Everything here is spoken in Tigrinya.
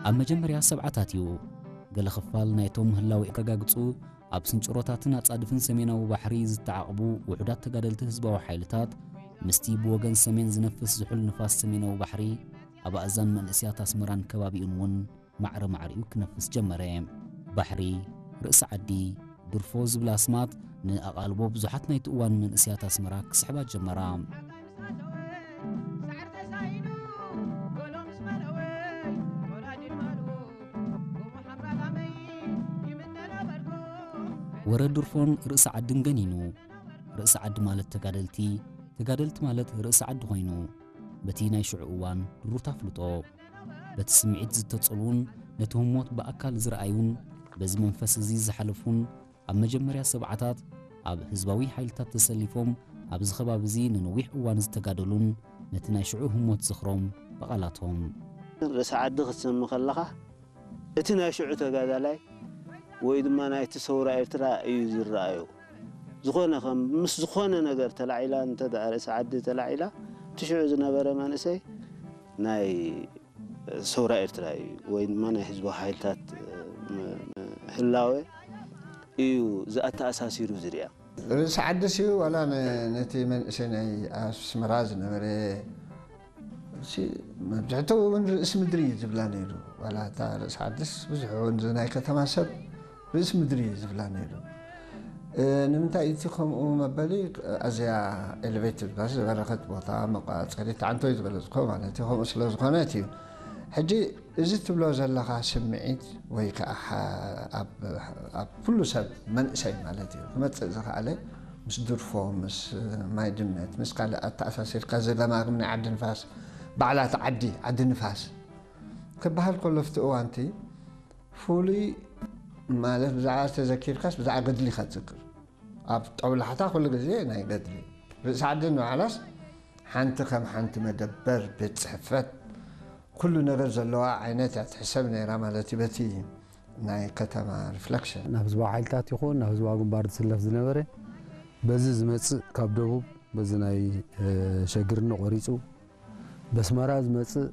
ኣብ መጀመርያ ሰብዓታት እዩ ገለ ክፋል ናይቶም ምህላው የረጋግጹ ኣብ ስንጭሮታትን ኣጻድፍን ሰሜናዊ ባሕሪ ዝተዓቕቡ ውሑዳት ተጋደልቲ ህዝባዊ ሓይልታት ምስቲ ብወገን ሰሜን ዝነፍስ ዝሑል ንፋስ ሰሜናዊ ባሕሪ ኣብ ኣእዛን መንእስያት ኣስመራን ከባቢኡን እውን ማዕረ ማዕሪኡ ክነፍስ ጀመረ። ባሕሪ፣ ርእሲ ዓዲ፣ ድርፎ ዝብላ ኣስማት ንኣቓልቦ ብዙሓት ናይቲ እዋን መንእስያት ኣስመራ ክስሕባ ጀመራ። ወረ ድርፎን ርእሲ ዓድን ገኒኑ። ርእሲ ዓዲ ማለት ተጋደልቲ፣ ተጋደልቲ ማለት ርእሲ ዓዲ ኮይኑ፣ በቲ ናይ ሽዑ እዋን ድሩት ኣፍልጦ፣ በቲ ስምዒት ዝተጸልዉን ነቲ ህሞት ብኣካል ዝረኣዩን በዚ መንፈስ እዚ ዝሓለፉን ኣብ መጀመርያ ሰብዓታት ኣብ ህዝባዊ ሓይልታት ተሰሊፎም ኣብዚ ከባቢ እዚ ንነዊሕ እዋን ዝተጋደሉን ነቲ ናይ ሽዑ ህሞት ዝኽሮም ብቓላቶም። ርእሲ ዓዲ ክትሰሚ ከለኻ እቲ ናይ ሽዑ ተጋዳላይ ወይ ድማ ናይቲ ሰውራ ኤርትራ እዩ ዝረኣዮ። ዝኾነ ከም ምስ ዝኾነ ነገር ተላዒላ እንተ ደኣ ርእሲ ዓዲ ተላዒላ እቲ ሽዑ ዝነበረ መንእሰይ ናይ ሰውራ ኤርትራ እዩ ወይ ድማ ናይ ህዝባዊ ሓይልታት ህላወ እዩ ዝኣተኣሳሲሩ ዝሪኣ። ርእሲ ዓድስ እዩ ዋላ ነቲ መንእሰይ ናይ ኣስመራ ዝነበረ መብዝሕትኡ እውን ርእሲ ምድሪ እዩ ዝብላ ነይሩ። ዋላ እታ ርእሲ ዓድስ ብዙሕ እውን ናይ ከተማ ሰብ ርእሲ ምድሪ እዩ ዝብላ ነይሩ። ንምንታይ እቲ ከምኡ መበሊ ኣዝያ ኤሌቬትድ ባስ ዝበረኸት ቦታ መቋፀሪት ዓንቶ እዩ ዝበለፅኮ ማለት እዩ። ከምኡ ስለ ዝኾነት እዩ። ሕጂ እዚ ትብሎ ዘለኻ ስምዒት ወይ ከዓ ኣብ ኩሉ ሰብ መንእሰይ ማለት እዩ ክመፅእ ዝኸኣለ ምስ ድርፎ ምስ ማይ ድመት ምስ ካልእ ኣተኣሳሲርካ ዝለማግም ናይ ዓዲ ንፋስ ባዕላት ዓዲ ዓዲ ንፋስ ክበሃል ከሎ ኣብቲ እዋንቲ ፍሉይ ማለት ብዛዕባ ዝተዘኪርካስ ብዛዕባ ገድሊ ኢኻ ትዝክር። ኣብ ጠውላሕታ ኩሉ ግዜ ናይ ገድሊ ርእሲ ዓዲ ንባዕላስ ሓንቲ ከም ሓንቲ መደበር ቤት ፅሕፈት ኩሉ ነገር ዘለዋ ዓይነት እያ ትሕሰብ ነይራ ማለት እዩ በቲ ናይ ከተማ reflection። ናብ ህዝባዊ ሓይልታት ይኹን ናብ ህዝባዊ ግንባር ዝስለፍ ዝነበረ በዚ ዝመፅእ ካብ ደቡብ በዚ ናይ ሸግርኒ ቆሪፁ በስመራ ዝመፅእ